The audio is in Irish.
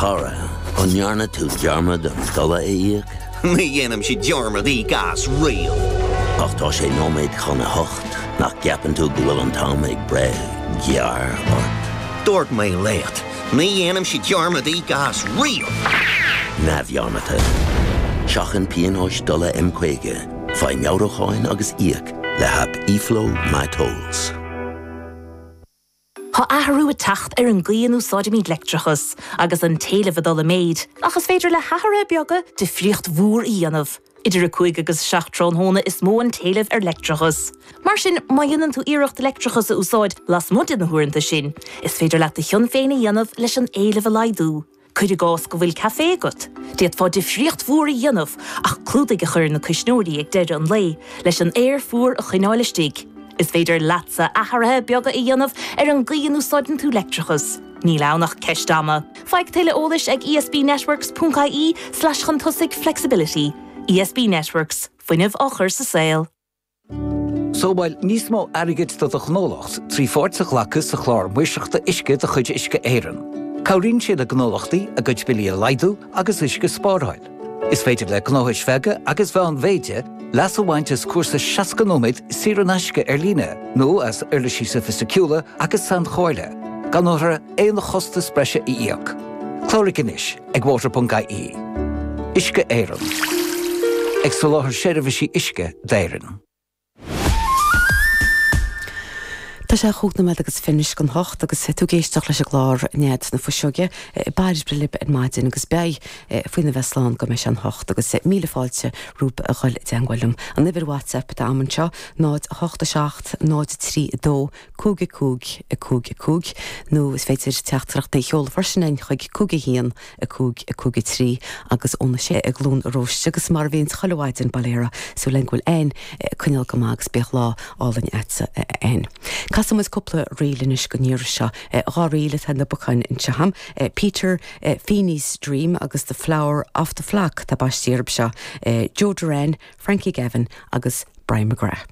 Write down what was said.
chara, an ndearna tú dearmad an dola a íoc? Ní dhéanaimse dearmad íoc as riamh. Ach tá sé nóiméad chun a hocht, nach gceapann tú go bhfuil an t-am ag breith gearr ort? Dúirt mé leat, ní dhéanaimse dearmad íoc as riamh! Neamhdhearmadta. Seachain pionóis dola M50, faigh meabhrúcháin agus íoc le haip eFlow MyTolls. Tá athrú ag teacht ar an gcaoi a n-úsáidimid leictreachas, agus an t-éileamh ag dul i méid, ach is féidir le hathruithe beaga difríocht mhór a dhéanamh. Idir 5 agus 7 tráthnóna is mó an t-éileamh ar leictreachas. Mar sin, má dhéanann tú iarracht leictreachas a úsáid lasmuigh de na huaireanta sin, is féidir leat do chion féin a dhéanamh leis an éileamh a laghdú. Cuir i gcás go bhfuil caife agat, d'fhéadfá difríocht mhór a dhéanamh ach clúdaigh a chur ar na cuisneoirí ag deireadh an lae leis an aer fuar a choinneáil istigh. Is féidir leatsa athruithe beaga a dhéanamh ar an gcaoi a n-úsáideann tú leictreachas. Níl ann ach ceist ama. Faigh tuilleadh eolais ag esbnetworks ponc ie slash chun tosaigh flexibility. ESB Networks, fuinneamh á chur sa saol. Sábháil níos mó airgid do do ghnólacht trí pháirt a ghlacadh sa Chlár Maoirseachta Uisce de chuid Uisce Éireann. Cabhraíonn sé le gnólachtaí a gcuid billí a laghdú agus uisce a spáráil. Is féidir le gnóthais bheaga agus mheánmhéide leas a bhaint as cúrsa 60 nóiméad saor in aisce ar líne nó as uirlisí sofaisticiúla agus sainchomhairle, gan orthu aon chostas breise a íoc. Cláraigh anois! ag water.ie. Uisce Éireann. Ag soláthar seirbhísí uisce d'Éirinn. Tá sé chúig nóiméad agus fiche chun hocht agus tú ag éisteacht leis an gclár Nead na Fuiseoige Bairbre libh ar maidin agus beidh faoina bheith slán go mbeidh sé an hocht agus míle fáilte romhaibh a dhul i dteangmháil liom. An uimhir WhatsApp atá a'm anseo 0 8 7 0 3 2 5 5 5 5, nó is féidir teachtaireachtaí a sheoladh freisin chuig 5 1 5 5 3 agus óna sé i gCluain Róiste agus mar a bhíonns chuile mhaidin, bail ó Dhia, súil againn go bhfuil Ann ag coinneáil go maith agus bíodh lá álainn a'dsa a Ann. Casfaidh muid cúpla ríl anois don iarraidh seo, dhá ríl atá ina bpocáin anseo a'm, Peter Feeney's Dream agus The Flower of the Flock atá baistí orthu seo, Joe Derrane, Frankie Gavin agus Brian McGrath.